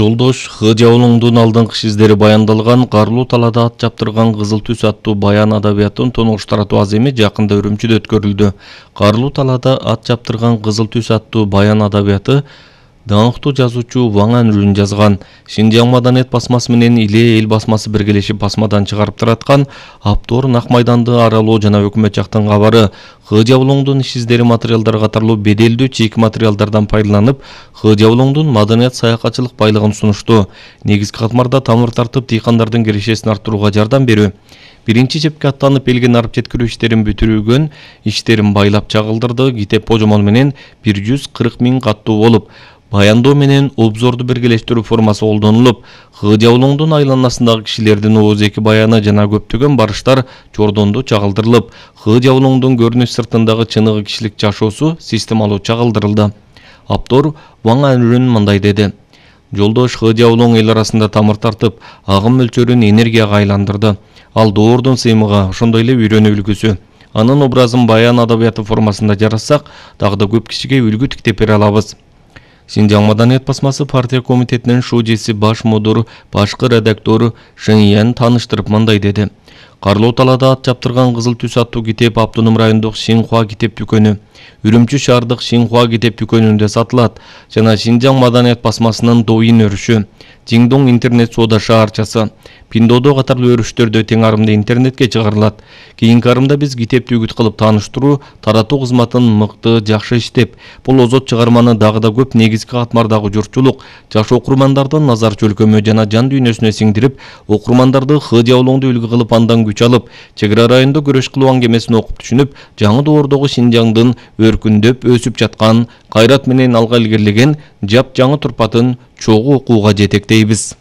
Жолдош Хыжаулуңдун алдыңкы издери баяндалган Карлуу талаада ат жаптырган кызыл түс аттуу баян адабиятын тонуш таратуу аземи жакында Үрүмчүдө өткөрүлдү. Карлуу талаада ат жаптырган кызыл түс аттуу баян адабияты даңктуу жазуучу Ваң Анүрүн жазган. Шинжаң маданият басмасы менен Иле эл басмасы биргелешип басмадан чыгарып тараткан Аптор Нак майданды аралоо жана өкмөт жактан кабары Хыжаулуңдун иш-издери материалдар катарлуу беделдүү чийки материалдардан пайдаланып, Хыжаулуңдун маданият саякатчылык байлыгын сунушту. Негизги катмарда тамыр тартып, дыйкандардын кирешесин арттырууга жардам берүү. Биринчи жепке аттанып элген арып жеткирүү иштерин бүтүрүүгөн иштерин байлап чагылдырды. Китеп божомол менен 140 000 каттуу болуп, баяндоо менен обзорду биргелештирүү формасы колдонулуп, Хыжаулуңдун айланасындагы кишилердин ооз-эки баяны жана көптөгөн барыштар жордондо чагылдырылып, Хыжаулуңдун көрүнүш сыртындагы чыныгы кишилик жашоосу системалуу чагылдырылды. Аптор Ваң Анүрүн мындай деди: Жолдош Хыжаулуң эл арасында тамыр тартып, агым мөлчөрүн энергияга айландырды. Ал доордун сыймыгы, ошондой эле үйрөнүү үлгүсү. Анын образын баян адабияты формасында жарассак, дагы да көп кишиге үлгү тиктеп бере алабыз. Шинжаң маданият басмасы партия комитетинин шужеси баш мудур, башкы редактор Шыңиян тааныштырып мындай деди: Карлуу талаада ат жаптырган кызыл түс аттуу китеп Автоном райондук Шинхуа китеп дүкөнү, Үрүмчү шаардык Шинхуа китеп дүкөнүндө сатылат жана Шинжаң маданият басмасынын Доин өрүшү, Жиңдоң интернет соода шаарчасы, Пиндодо катарлуу өрүштөрдө тең арымда интернетке чыгарылат. Кийинки арымда биз китепти үгүт кылып тааныштыруу, таратуу кызматын мыкты, жакшы иштеп, бул озот чыгарманы дагы да көп негизги катмардагы журтчулук, жаш окурмандардын назар чөлкөмү жана жан дүйнөсүнө сиңдирип, окурмандарды Хыжаулуңду үлгү кылып андан күч алып, чек ара районунда күрөш кылуу аңгемесин окуп түшүнүп, жаңы доордогу Шинжаңдын өркүндөп өсүп жаткан, кайрат менен алга илгерилеген жап жаңы турпатын чогуу окууга жетектейбиз.